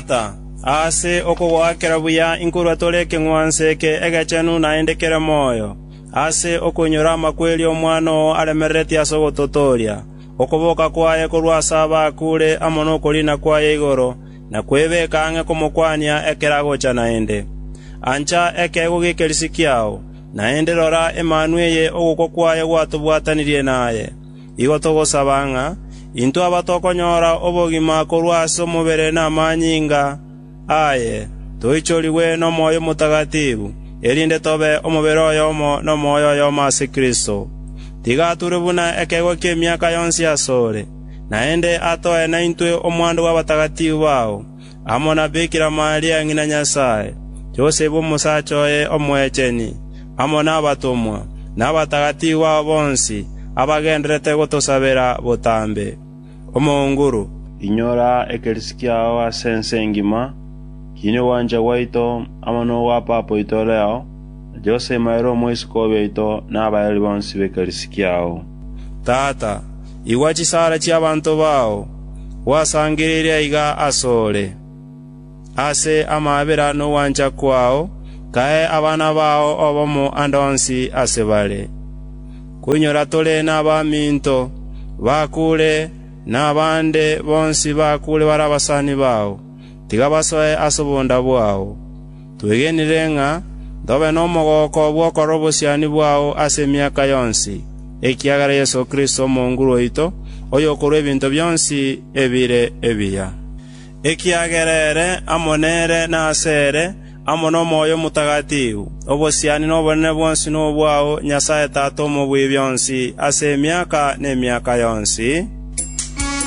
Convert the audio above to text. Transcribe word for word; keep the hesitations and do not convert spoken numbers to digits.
Tata, ase okogoakera buya inkorwa tore ekeng'wanso eke egechenu naende kere moyo, ase okoinyora amakweri Omwana oo aremereretie ase ogototooria, okoboka kwaye korwa ase abakure amo nokoriina kwaye igoro, na kwebeka ang'e komokwania ekero agocha naende. Ancha ekeegwa gi'ekerisi kiao, naende rora emanwa eye ogokwa kwaye gwatobwatanirie naye. Igo togosaba ng'a intwe abatokonyora obogima korwa ase omobere na amanyinga aye, toichorigwe n'Omoyo Omotagatifu, erinde tobe omobere oyomo n'omoyo oyomo ase Kristo. Tiga ature buna ekeegwa ki'emiaka yonsi asore, naende atoe naintwe omwando bw'abatagatifu bao, amo na Bikira Maria ng'ina Nyasae, Yosefu omosacha oye omwecheni, amo nabatomwa, na abatagatifu bao bonsi, abagendererete gotosabera botambe. Omonguru, Inyora ekerisi kiao ase ense engima, kiina ogwancha gwaito amo nogwa Papa oito Leo, na Jose Maria omoisiko oito, na abaeri bonsi b'ekerisi kiao. Tata, igwa chisara chi'abanto bao, gwasangereire aiga asore. Ase amabera nogwancha kwao, kae abana bao obomo ande onsi ase bare. Koinyora tore n'abaminto bakure n'abande bonsi bakure bare abasani bao, tiga basoe ase obonda bwao. Twegenire ng'a ntobe nomogoko bw'okorora obosiani bwao ase emiaka yonsi, ekiagera Yeso Kristo omonguru oito, oyokorua ebinto bionsi ebire ebiya. Ekiagera ere amo nere na ase ere, amo n'Omoyo Omotagatifu, obosiani n'obonene bwonsi nobwao, Nyasae Tata omobui bionsi, ase emiaka n'emiaka yonsi.